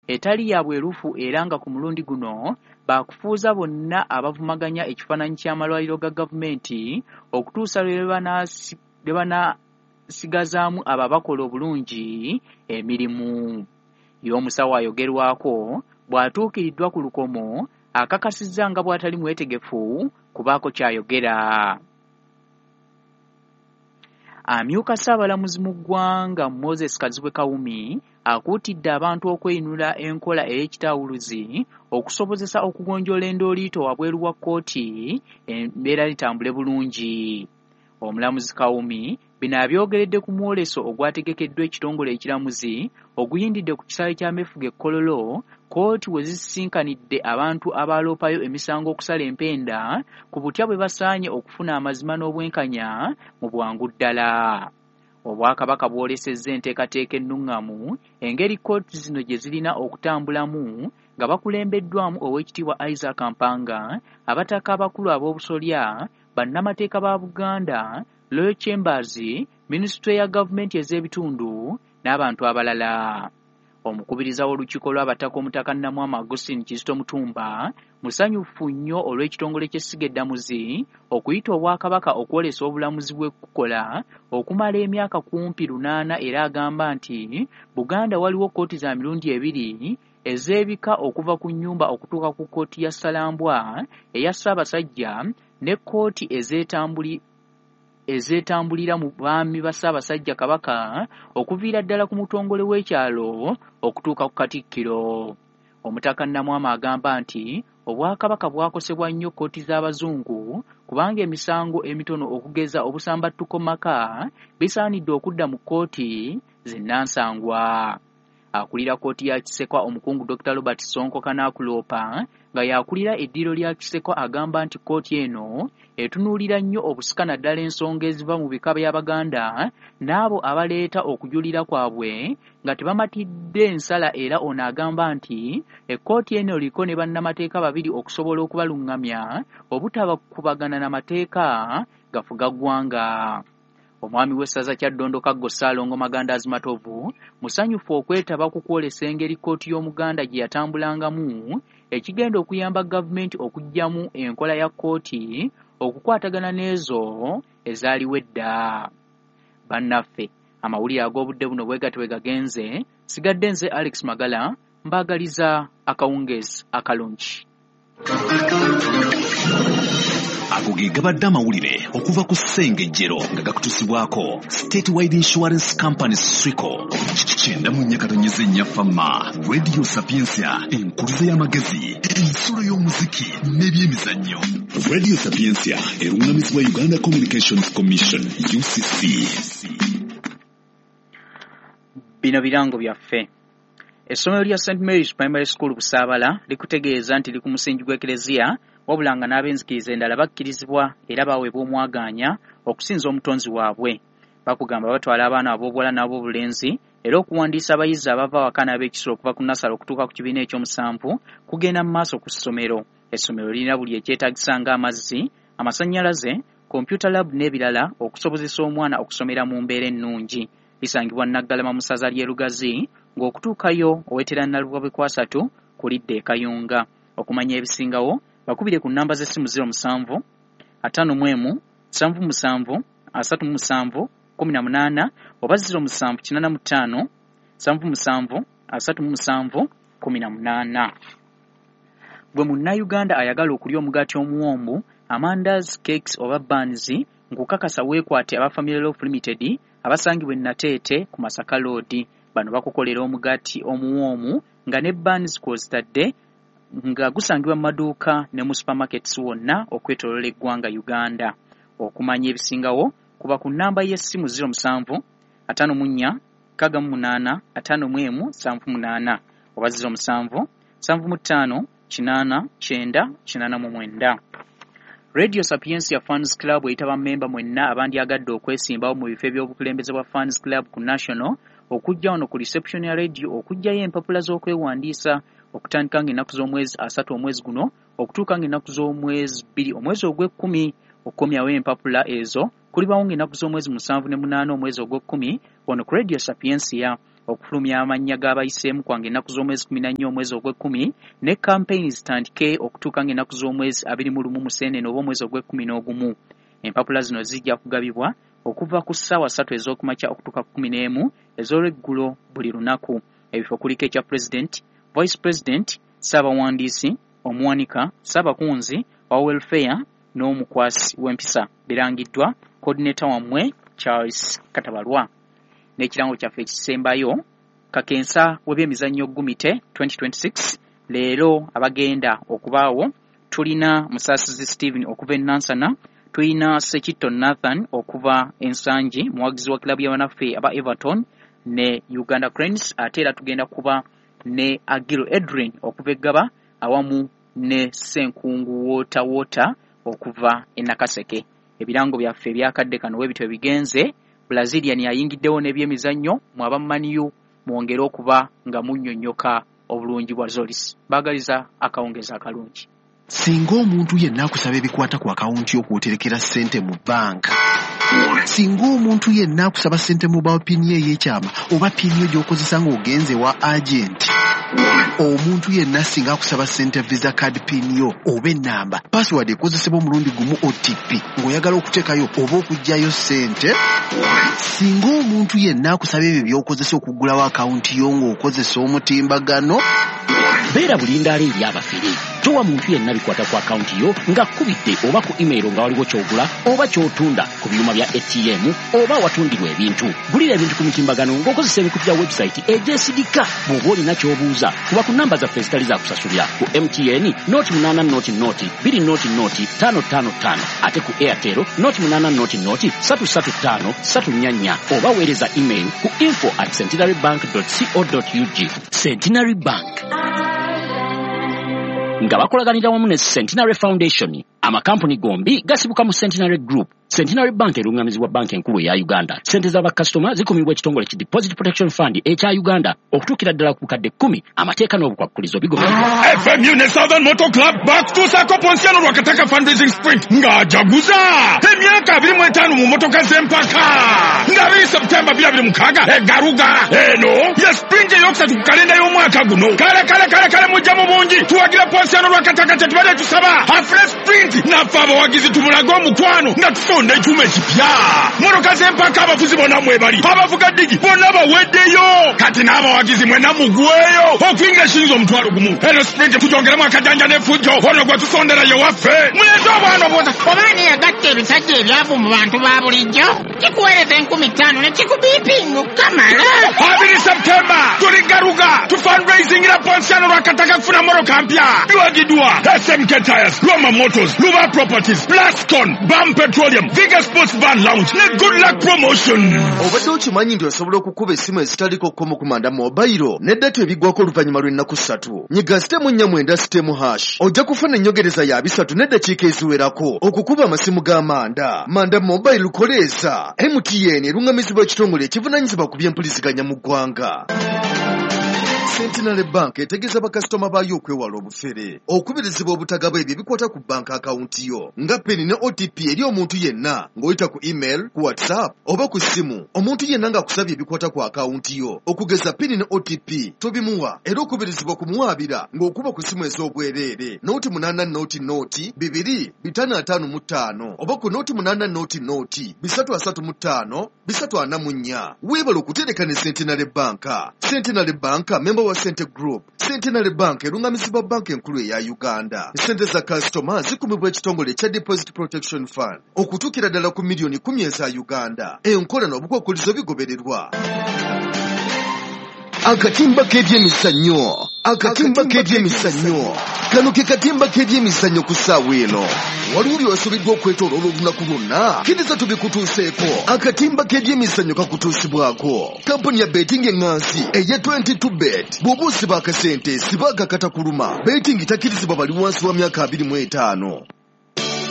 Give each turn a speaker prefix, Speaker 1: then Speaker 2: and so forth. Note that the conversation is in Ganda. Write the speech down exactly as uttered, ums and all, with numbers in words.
Speaker 1: etali ya bwerufu era nga ku mulundi guno baakufuuza bonna abavumaganya ekifaananyi ky'amalwaliro ga gavumenti okutuusa lwe banaasigazaamu abo abakola obulungi emirimu. Ye omusawo ayogerwako bw'atuukiriddwa ku lukomo akakasizza nga bw'atali mwetegefu kubaako ky'ayogera. Amyuka Ssaabalamuzi mu ggwanga Moses Kazibwe Kawumi akuutidde abantu okweyinula enkola ey'ekitawuluzi okusobozesa okugonjoola endooliito wabweru wa kkooti embeera litambule bulungi. Omulamuzi Kawumi bino abyogeredde ku mwoleso ogwategekeddwa ekitongole ekiramuzi oguyindidde ku kisaawe ky'amefuga e Kololo, kkooti we zisisinkanidde abantu abaaloopayo emisango okusala empenda ku butya bwe basaanye okufuna amazima n'obwenkanya mu bwangu ddala. Obwakabaka bwolesezza enteekateeka ennungamu engeri kkooti zino gye zirina okutambulamu nga bakulembeddwamu Oweekitiibwa Isaac Mpanga, abataka abakulu ab'obusolya, bannamateeka ba Buganda, Royal Chambers, minisitule ya gavumenti ez'ebitundu n'abantu abalala. Omukubiriza w'olukiiko lw'abataka Omutaka Nnamwama Augustine Kizito Mutumba musanyufu nnyo olw'ekitongole ky'essiga eddamuzi okuyita Obwakabaka okwolesa obulamuzi bwe kukola okumala emyaka kumpi lunaana era agamba nti Buganda waliwo kkooti za mirundi ebiri ez'ebika okuva ku nnyumba okutuuka ku kkooti ya Ssalambwa eya Ssaabasajja ne kkooti ezeetambuli ezeetambulira mu baami ba Ssaabasajja Kabaka okuviira ddala ku mutongole w'ekyalo okutuuka ku Katikkiro. Omutaka Nnamwama agamba nti Obwakabaka bwakosebwa nnyo kkooti z'Abazungu kubanga emisango emitono okugeza obusambattuko maka bisaanidde okudda mu kkooti zinnansangwa. Akulira kkooti ya Kisekwa omukungu Dokita Robert Ssonko Kanaakuloopa nga y'akulira eddiiro lya Kisekwa agamba nti kkooti eno etunuulira nnyo obusika naddala ensonga eziva mu bika by'Abaganda n'abo abaleeta okujulira kwabwe nga tebamatidde nsala era ono agamba nti ekkooti eno eriko ne bannamateeka babiri okusobola okubalungamya obutabakubagana na mateeka gafuga ggwanga. Omwami w'essaza Kyaddondo Kaggo Ssaalongo Magandaazi Matovu musanyufu okwetaba ku kwolesa engeri kkooti y'Omuganda gye yatambulangamu ekigenda okuyamba gavumenti okuggyamu enkola ya kkooti okukwatagana n'ezo ezaaliwo edda. Bannaffe, amawulire ag'obudde buno bwe gatyo bwe gagenze. Sigadde nze Alex Magala mbaagaliza akawungeezi akalungi.
Speaker 2: Ago ge gabadde amawulire okuva ku Ssengejjero nga gakutuusibwako Statewide Insurance Company Swico. Kyenda mu nnya katonnyeze nnya Fama, Radio Sapientia, enkuluze y'amagezi, ensulo y'omuziki n'ebyemizannyo. Radio Sapientia erungamizibwa Uganda Communications Commission U C C.
Speaker 1: Bino birango byaffe. Essomero lya Saint Mary's Primary School Busaabala likutegeeza nti liri ku musingi gw'Eklezia wabula nga n'ab'enzikiriza endala bakkirizibwa era baweebwa omwagaanya okusinza omutonzi waabwe. Bakugamba batwala abaana ab'obuwala n'ab'obulenzi era okuwandiisa abayizi abava awaka n'ab'ekisulo okuva ku nasale okutuuka ku kibiina ekyomusanvu kugenda mu maaso ku ssomero. Essomero lirina buli ekyetaagisa ng'amazzi, amasannyalaze, computer lab n'ebirala okusobozesa omwana okusomera mu mbeera ennungi. Lisangibwa Naggalama mu ssaza ly'e Lugazi ng'okutuukayo owetera Nalubwa Bwekwasatu ku lidda e Kayunga. Okumanya ebisingawo bakubire ku nnamba z'essimu ziro musanvu ataano mu emu nsanvu musanvu asatu mu musanvu kkumi na munaana oba ziro musanvu kinaana mu ttaano nsanvu musanvu asatu mu musanvu kkumi na munaana. Gwe munnayuganda ayagala okulya omugaati omuwombu, amandazi, cakes oba buns, nkukakasa weekwate aba Family Loaf Limited abasangibwa e Nateete ku Masaka Road. Bano bakukolera omugaati omuwoomu nga ne buns kw'ozitadde nga gusangibwa mu maduuka ne mu supermarkets wonna okwetooloola eggwanga Uganda. Okumanya ebisingawo kuba ku nnamba y'essimu ziro musanvu ataano mu nnya nkaaga mu munaana ataano mu emu nsanvu munaana oba ziro musanvu nsanvu mu ttaano kinaana kyenda kinaana mu mwenda. Radio Sapientia Fans Club eyita bammemba mwenna abandyagadde okwesimbawo mu bifo eby'obukulembeze bwa Fans Club ku National okujja wano ku reception ya radio okuggyayo empapula z'okwewandiisa okutandika ng'ennaku z'omwezi asatu omwezi guno okutuuka ng'ennaku z'omwezi bbiri omwezi ogw'ekkumi. Okukomyawo empapula ezo kulibawo ng'ennaku z'omwezi musanvu ne munaana omwezi ogw'ekkumi wano ku Radio Sapientia. Okufulumya amannya g'abayiseemu kwange ennaku z'omwezi kkumi na nnya omwezi ogw'ekkumi, ne campaign zitandike okutuuka ng'ennaku z'omwezi abiri mu lumu Museenene oba omwezi ogw'ekkumi n'ogumu. Empapula zino zijja kugabibwa okuva ku ssaawa ssatu ez'okumakya okutuuka ku kkumi n'emu ez'olweggulo buli lunaku. Ebifo kuliko ekya President, Vice President, Ssaabawandiisi, Omuwanika, Ssaabakunzi, owa Welfare n'omukwasi w'empisa. Birangiddwa coordinator wammwe Charles Katabalwa. N'ekirango kyaffe ekisembayo, kakensa w'ebyemizannyo Gumite twenty twenty-six, leero abagenda okubaawo tulina Musaasizi Stephen okuva e Nansana, tulina Sekitto Nathan okuva e Nsangi, muwagizi wa kilabu y'abanaffe aba Everton ne Uganda Cranes, ate era tugenda kuba ne Agil Edrin okuva e Ggaba awamu ne Ssenkungu Water Water okuva e Nakaseke. Ebirango byaffe ebyakadde kano webityo bigenze. Brazilian ayingiddewo n'ebyemizannyo, mwe aba Man U mwongere okuba nga munnyonnyoka obulungi bwa Zolis. Baagaliza akawungeezi akalungi.
Speaker 3: Singa omuntu yenna akusaba ebikwata ku akawunti y'okwoterekera ssente mu bbanka, singa omuntu yenna akusaba ssente mu mobile PIN ey'ekyama oba PIN yo gy'okozesa ng'ogenze wa agenti, omuntu yenna singa akusaba ssente Visa card PIN yo oba ennamba, password ekozesebwa omulundi gumu O T P ng'oyagala okuteekayo oba okuggyayo ssente, singa omuntu yenna akusaba ebyo by'okozesa okuggulawo akawunti yo ng'okozesa omutimbagano,
Speaker 4: beera bulindaala eri abafere. Towa muntu yenna bikwata ku akawunti yo ng'akkubidde oba ku email nga waliwo ky'ogula oba ky'otunda ku byuma bya A T M oba awatundirwa ebintu. Gulira ebintu ku mitimbagano ng'okozesa emikutu gya website egyesigika. Bw'oba olina ky'obuuza, kuba ku namba zaffe ezitali za kusasulira ku M T N noti munaana noti noti bbiri noti noti ttaano ttaano ttaano, ate ku Airtel noti munaana noti noti ssatu ssatu ttaano ssatu nnya nnya, oba weereza email ku info at centenary bank dot co dot ug. Centenary Bank nga bakolaganira wamu ne Centenary Foundation. Amakampuni gombi gasibuka mu Centenary Group. Centenary Bank erungamizibwa banka enkulu eya Uganda. Ssente z'abakasitoma zikumibwa ekitongole ki Deposit Protection Fund ekya Uganda okutuukira ddala ku bukadde kkumi. Amateeka n'obukwakkulizo bigobererwa.
Speaker 5: F M U ne Southern Motor Club bakutuusaako Ponsiano Lwakataka Fundraising Sprint ng'ajaguza emyaka abiri mu etaano mu mmotoka z'empaka nga abiri September bibiri abiri mukaaga e Garuga. Eno ye sprint eyokusatu ku kalenda y'omwaka guno. Kale kale kale kale mujja mu bungi tuwagira Ponsiano Lwakataka kye tubadde tusaba afune sprint naffe abawagizi tumulage omukwano nga tusonda ekyuma ekipya. Mmotoka z'empaka abavuzi bonna mwebali, abavuga ddigi bonna baweddeyo, kati n'abawagizi mwenna mugweyo okuyingira shilingi omutwalo gumu. Eno sprint tugyongeremu akajanja n'effujjo, ono gwe tusondera ye waffe. Muleete obwana obwota.
Speaker 6: Oba ani yagatta ebisajja ebyavu mu bantu ba bulijjo, kikuweereza enkumi ttaano ne kikubiipinga okukamala.
Speaker 5: Abiri September tuli Garuga tufundraisingira Ponsiano Lwakataka kufuna mmotoka mpya. Biwagiddwa S M K Tires, Roma Motors, Luba Properties, Plascon, Bam Petroleum, Viga Sports Bar Lounge ne Good Luck Promotion.
Speaker 7: Obadde okimanyi nti osobola okukuba essimu ezitaliko kkomo ku manda mobile ne data ebiggwako oluvannyuma lw'ennaku ssatu. Nyiga sitemu nnya mwenda sitemu hash ojja kufuna ennyongereza ya bisatu n'eddakiika eziwerako okukuba amasimu ga manda. Manda mobile koleesa. M T N erungamizibwa ekitongole ekivunaanyizibwa ku by'empuliziganya mu ggwanga. Centenary Bank etegeeza bakasitoma baayo okwewala obufere, okubirizibwa obutagaba ebyo ebikwata ku banka akawunti yo nga PIN ne O T P eri omuntu yenna ng'oyita ku email, ku WhatsApp oba ku ssimu. Omuntu yenna ng'akusabye ebikwata ku akawunti yo okugeza PIN ne O T P tobimuwa, era okubirizibwa kumuwaabira ng'okuba ku ssimu ez'obwereere noti munaana noti noti bibiri bitaano ataano mu ttaano oba ku noti munaana noti noti bisatu asatu mu ttaano bisatu ana mu nnya. Weebale okutereka ne Centenary Bank. Centenary Bank member wa Sente Group. Centenary Bank erungamizibwa banka enkulu eya Uganda. Ssente za kasitoma zikumibwa ekitongole ekya Deposit Protection Fund okutuukira ddala ku miliyoni kkumi eza Uganda. Enkola n'obukwakkulizo bigobererwa. Akatimba k'ebyemizannyo. Akatimba k'ebyemizannyo. Kano ke katimba k'ebyemizannyo ku ssaawa eno. Waliwo by'osuubiddwa okwetooloola olunaku lwonna, kkiriza tubikutuuseeko. Akatimba k'ebyemizannyo kakutuusibwako kampuni ya betting eŋŋansi eya twenty-two bet. Bw'oba osiba akasente siba akakata kuluma. Betting takkirizibwa bali wansi wa myaka abiri mu etaano.